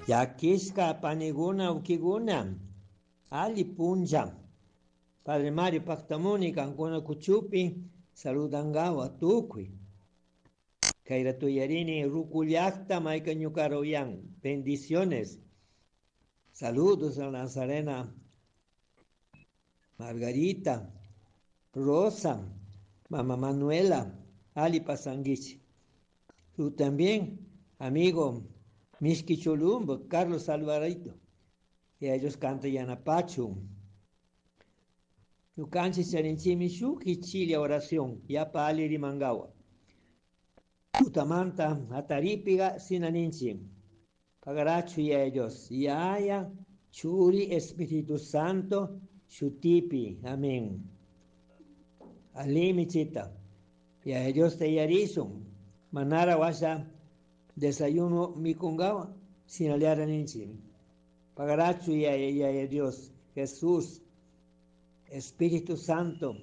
Llakishka paniguna ukiguna alli punlla. Padre Mario paktamuni kankuna kuchupi saludangawa tukuy. Kayra tuyarini ruku llakta mayka ñukara uyan. Bendiciones. Saludos a Nazarena, Margarita, Rosa, Mamá Manuela, Ali Pasanguichi. Tú también, amigo Mishki Cholumbo, Carlos Alvarito. Y ellos cantan Yanapachu. Ñukanchik charinchimi shuk ichilla oración, yapa ali rimangawa. Tutamanta ataripiga sinaninchi. Pagarachu y ellos. Yaya, Churi, Espíritu Santo, Shutipi. Amén. Alimi chita. Y a ellos te yarizun. Manara washa desayuno mikungawa, sinaliara ninchi. Pagarachu y a Dios, Jesús, Espíritu Santo.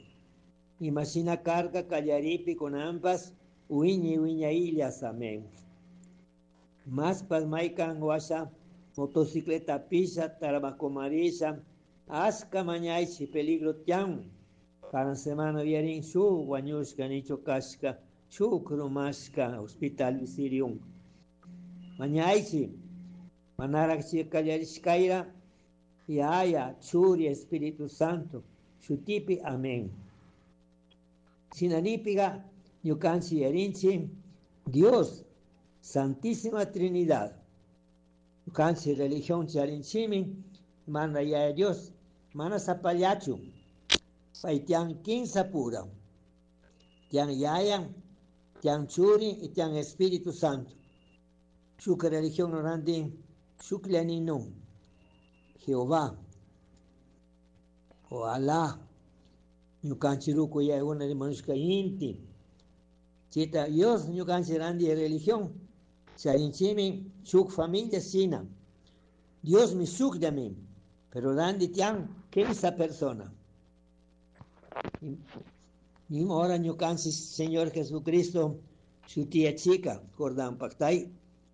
Imagina carga callaripi con ambas, uiñi uiña illas, amén. Más maikan washa, motocicleta pisa, tarabacomarisa, asca mañaichi, peligro tian. Cada semana viarin shu, guañushka, nicho kashka, shu krumashka, hospital visirium. Mañaichi, manarakchi kallarishkaira, Yaya, Churi, Espíritu Santo, Shutipi, amén. Sinanipiga, ñukanchi yarinchi, Dios, Santísima Trinidad. Ñukanchi religión charinchimi, manda ya Dios, mana zapallachu, paitian quinza pura, tian Yaya, tian Churi y tian Espíritu Santo. Shuka religión norandi, shuklianinu, Jehová, o Alá, ñukanchi ruku yayguna rimanushka inti. Chita Dios ñukanchi randi religión, charinchimi shuk familia sina. Dios mi shukllami, pero randi tian quinza persona. Ni ahora ñukanchi Señor Jesucristo, su tía chica, Jordán Pactay,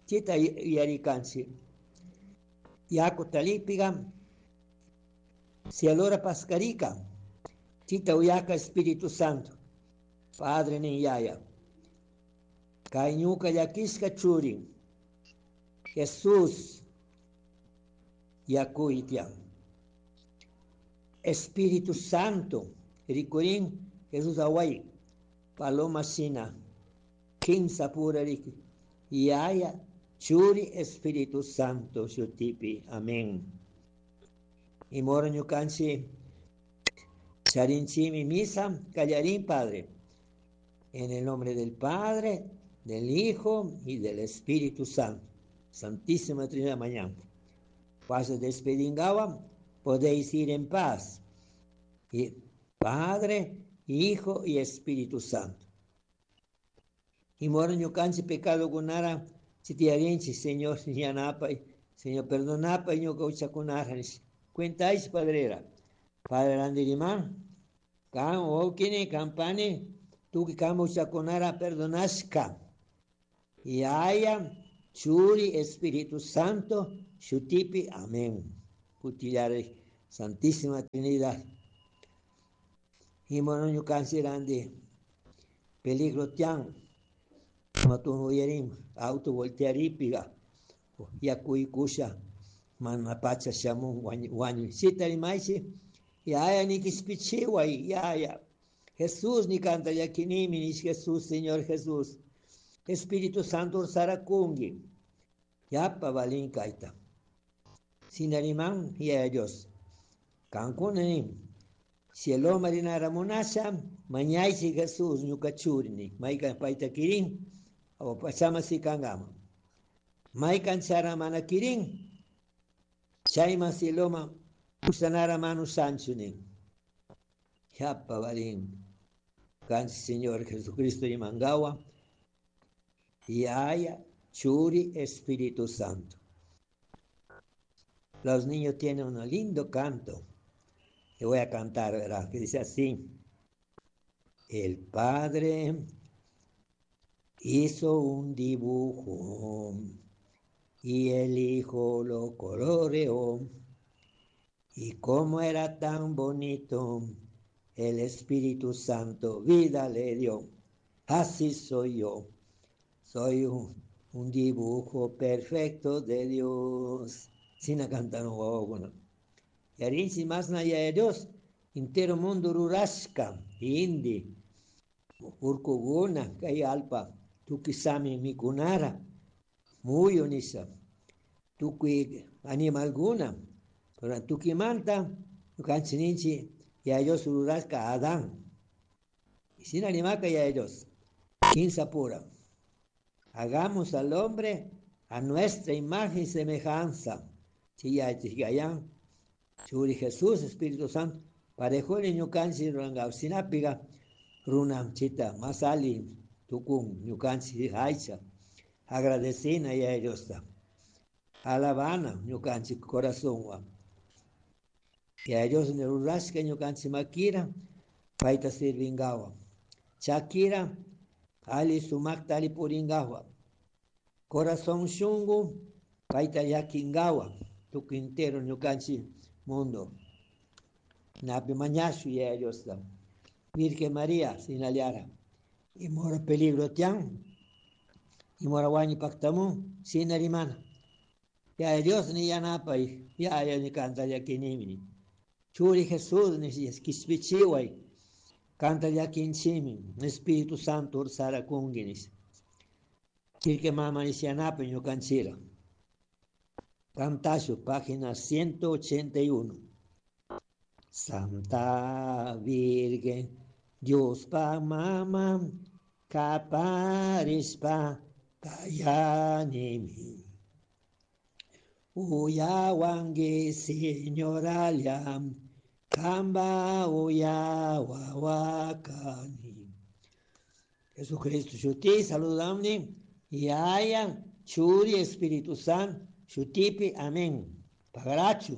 chita yarikanchi. Yaku talipiga, si allora pascarica, chita uyaka Espíritu Santo, Padre ni yaya. Kay ñuka llakishka churi, Jesús yakuitian. Espíritu Santo, rikurin Jesús away, paloma shina, kinsa pura riki, yaya, Churi Espíritu Santo shutipi. Amén. Y moro ñukanchi charinchimi misa, callarín Padre. En el nombre del Padre, del Hijo y del Espíritu Santo. Santísima Trinidad mañana. Paso despedingawa, podéis ir en paz. Y Padre, Hijo y Espíritu Santo. Y moro ñukanchi pecado gunara, chitiarinchi, Señor, yanapay, Señor, perdonapay, ñuka uchakunara, cuentáis, padrera. Padre Andirimán, kan okini, kampani, tuki kama uchakunara, perdonashka. Y haya, Churi, Espíritu Santo, Shutipi, amén. Kutillare, Santísima Trinidad. Y mono ñukanchi randi, peligro tian, matun uyarim, auto voltearipiga, yakuy kusha, mana pacha shamun wañu. Sita rimaichi, yaya nikispichiway, yaya. Jesús ni canta yakinimi, ni Jesús, Señor Jesús. Espíritu Santo sarakungi. Yapa balin kaita. Sinariman, yaya Dios. Kankunani. Cielo marinara munasha, mañaichi Jesús, ñuka churini. Maika paita kirin, o pachama si kangama. Maikan chara mana kirin, chayma cieloma, usanara manu sanchunin. Yapa balin. Kanchi Señor Jesucristo y mangawa. Yaya, Churi, Espíritu Santo. Los niños tienen un lindo canto. Que voy a cantar, ¿verdad? Que dice así. El Padre hizo un dibujo. Y el hijo lo coloreó. Y como era tan bonito, el Espíritu Santo vida le dio. Así soy yo. Soy un dibujo perfecto de Dios. Sina cantano wawakuna. Yarinchi masna Yaya Dios, entero mundo rurashka, indi, urkuguna, kay alpa, tukuy sami mikunara, muyu nisha, tukuy animalguna, pero tukimanta, ñukanchik ninchik, Yaya Dios rurashka Adán. Y shina rimaka Yaya Dios, kimsa pura. Hagamos al hombre a nuestra imagen y semejanza. Chiyachigayan, Churi Jesús, Espíritu Santo, parejuni ñukanchik ruranka, shinapiga runa chita, más ali tukun ñukanchik aycha, agradecina Yaya Diosta, alabana ñukanchik corazonwan. Yaya Dios rurashka ñukanchik makira, payta sirvingawan. Chakira, ali sumakta ali puringawan. Corazón shungu, payta llakingawan, tukuy entero ñukanchik mundo. Napi mañashu Yaya Diosta. Virgen María, sinaliara. Imora peligro tian, imora wañi paktamu, sinarimana. Yaya Dios ni yanapay, Yaya ni kanta llakinimi. Churi Jesús ni kishpichiway, kanta llakinchimi, Espíritu Santo ursara kungi. Chirque mama ni yanapay ñukanchira. Cantashu, página 181. Santa Virgen, Dios pa mama, kaparispa kayanimi. Uyawangi señoralia, kamba uyawawakani. Jesucristo shuti, saludamni, Yaya, Churi, Espíritu Santo, shutipi, amén. Pagarachu.